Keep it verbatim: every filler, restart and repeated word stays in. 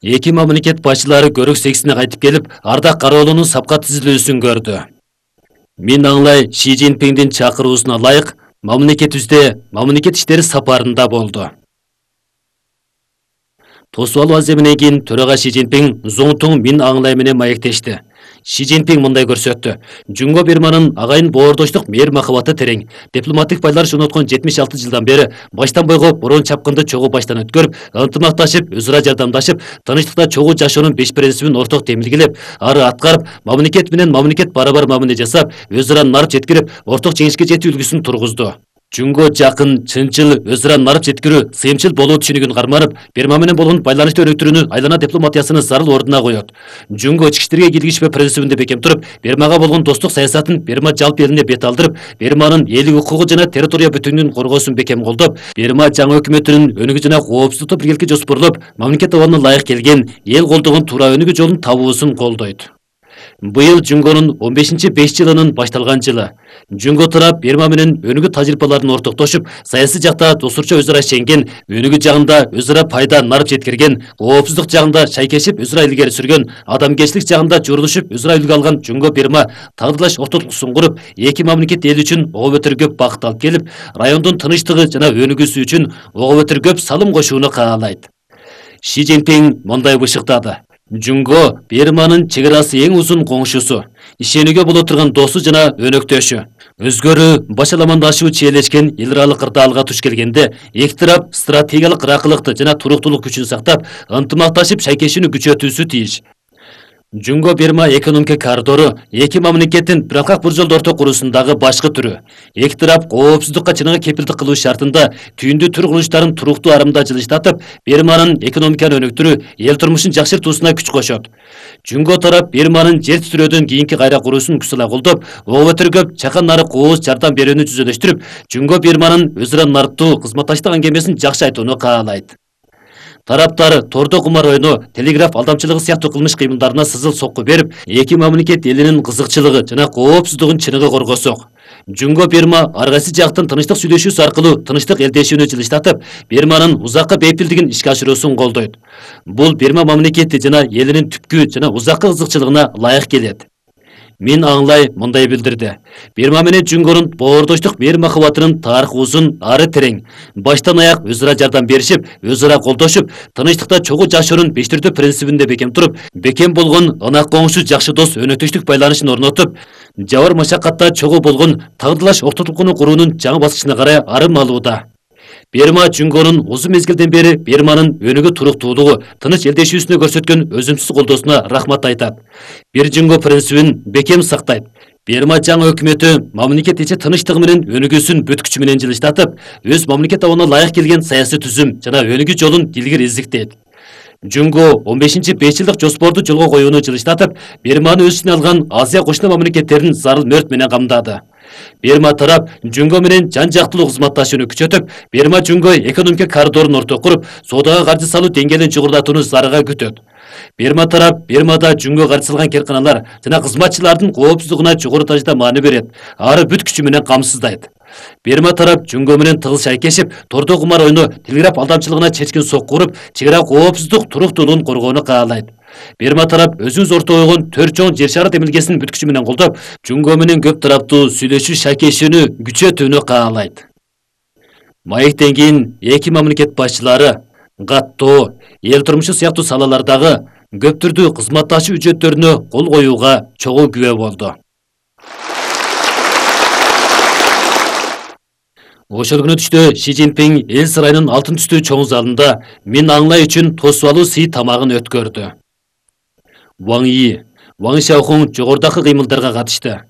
Эки мамлекет башчылары көрүк сексине кайтып келип, Ардак Кароолунун сапка түзүлүүсүн көрдү. Мин Аңлай Ши Цзиньпиндин чакыруусуна ылайык мамлекетибизде мамлекет иштери сапарында болду. Тосуп алуу аземинен кийин төрага Ши Цзиньпин Зуңтуң Мин Аңлай менен маектешти. Ши Цзиньпин мындай көрсөттү. Жунго Бирманын агайын боордоштук мээр махабаты терең. Дипломаттык байланыш орноткон жетимиш алты жылдан бери баштан бойго борон чапкынды чогуу баштан өткөрүп, ынтымакташып, өз ара жардамдашып, тынчтыкта чогуу жашоонун беш принцибин орток демилгелеп, ары аткарып, мамлекет менен мамлекет барабар мамиле жасап, өз ара нарып жеткирип, орток жеңишке жетүү үлгүсүн тургузду. Жунго жакын, чынчыл, өз ара нарып жеткирүү, сыйымчыл болуу түшүнүгүн карманып, Бирма менен болгон байланышты өнүктүрүүнү айлана дипломатиясынын зарыл ордуна коет. Жунго ички иштерге киргизишпөө принцибинде бекем туруп, Бирмага болгон достук саясатын Бирма жалпы элине бет алдырып, Бирманын элдик укугу жана территория бүтүнүгүнүн коргоосун бекем колдоп, Бирма жаңы өкмөтүнүн өнүгүү жана коопсуздукту биргеликке жоспорлоп, мамлекет абалына ылайык келген, эл колдогон туура өнүгүү жолун табуусун колдойт. Быйыл Жунгонун он бешинчи беш жылынын башталган жылы. Жунго тарап Бирма менен өнүгүү тажрыйбаларын ортоктошуп, саясий жакта достурча өз ара ишенген, өнүгүү жагында өз ара пайда нарып жеткирген, коопсуздук жагында шайкешип өз ара илгери сүргөн, адамгерчилик жагында журулушуп өз ара үлгү алган Жунго Бирма тагдырлаш ортотуксун куруп, эки мамлекет эл үчүн ого бетер көп бакыт алып келип, райондун тынчтыгы жана өнүгүүсү үчүн ого бетер көп салым кошууну каалайт. Ши Цзиньпин мындай бышыктады. Жунго Бирманын чек арасы эң узун коңшусу, ишенүүгө боло турган досу жана өнөктөшү. Өзгөрүү башаламандашуу чиелешкен эл аралык кырдаалга туш келгенде эки тарап стратегиялык ыракылыкты жана туруктуулук күчүн сактап, ынтымакташып шайкешүүнү күчөтүүсү тийиш. Жунго Бирма экономика коридору эки мамлекеттин биралкак бир жолдо орток куруусундагы башкы түрү. Эки тарап коопсуздукка чыныгы кепилдик кылуу шартында түйүндүү төр курулуштарын туруктуу арымда жылыштатып, Бирманын экономиканы өнүктүрүү, эл турмушун жакшыртуусуна күч кошот. Жунго тарап Бирманын жер титирөөдөн кийинки кайра курууусун күчсала колдоп, ого бетер көп чакан нарык кооз жардам берүүнү жүзөлөштүрүп, Жунго Бирманын өз ара нарыктуу кызматташтык аңгемесин жакшы айтууну каалайт. Тараптар тордо кумар ойноо, телеграф алдамчылыгы сыяктуу кылмыш кыймылдарына сызыл сокку берип, эки мамлекет элинин кызыкчылыгы жана коопсуздугун чыныгы коргосок. Жунго Бирма ар кайсы жактын тынчтык сүйлөшүүсү аркылуу тынчтык элдешүүнү жылыштатып, Бирманын узакка бейпилдигин ишке ашыруусун колдойт. Бул Бирма мамлекети жана элинин түпкү жана узаккы кызыкчылыгына ылайык келет. Мин Аңлай мындай билдирди. Бирма менен Жунгонун боордоштук мээр махабатынын тарыхы узун, ары терең. Баштан аяк өз ара жардам беришип, өз ара колдошуп, тынчтыкта чогуу жашоонун бештирдүү принцибинде бекем туруп, бекем болгон ынак коңшу жакшы дос өнөктөштүк байланышын орнотуп, жабыр машакатта чогуу болгон тагдырлаш ортотукуну куруунун жаңы баскычына карай арым алууда. Бирма Жунгонун узун мезгилден бери Бирманын өнүгүү туруктуулугу, тыныч элдешүүсүнө көрсөткөн өзүмсүз колдоосуна рахмат айтат. Бир Жунго принцибин бекем сактайт. Бирма жаңы өкмөтү мамлекет ичи тынчтыгы менен өнүгүүсүн бүт күчү менен жылыштатып, өз мамлекет абалына ылайык келген саясий түзүм жана өнүгүү жолун илгери издиктейт. Жунго он бешинчи беш жылдык жоспорду жолго коюуну жылыштатып, Бирманы өз ичине алган Азия кошуна мамлекеттерин зарыл мөрт менен камдады. Бирма тарап Жунго менен жан жактылуу кызматташууну күчөтүп, Бирма Жунго экономика коридорун ортого куруп, соодага каржы салуу деңгээлин жогорулатууну зарыга күтөт. Бирма тарап Бирмада Жунго каржы салган керканалар жана кызматчылардын коопсуздугуна жогору дажда маани берет, ары бүт күчү менен камсыздайт. Бирма тарап Жунго менен тыгыз шайкешип, тордо кумар ойноо, телеграф алдамчылыгына чечкин сокку уруп, чек ара коопсуздук туруктуулугун коргоону каалайт. Бирма тарап өзүнүз орто койгон төрт чоң жер шары демилгесин бүт күчү менен колдоп, Жунго менен көп тараптуу сүйлөшүү шайкешүүнү күчөтүүнү каалайт. Маектен кийин эки мамлекет башчылары каттоо, эл турмушу сыяктуу салалардагы көп түрдүү кызматташуу үчөттөрүнө кол коюуга чогуу күбө болду. Ошол күнү түштө Ши Цзиньпин эл сарайынын алтын түстүү чоң залында Мин Аңлай үчүн тосуп алуу сый тамагын өткөрдү. Ваң Йи, Ваң Шаохун жогорудагы кыймылдарга катышты.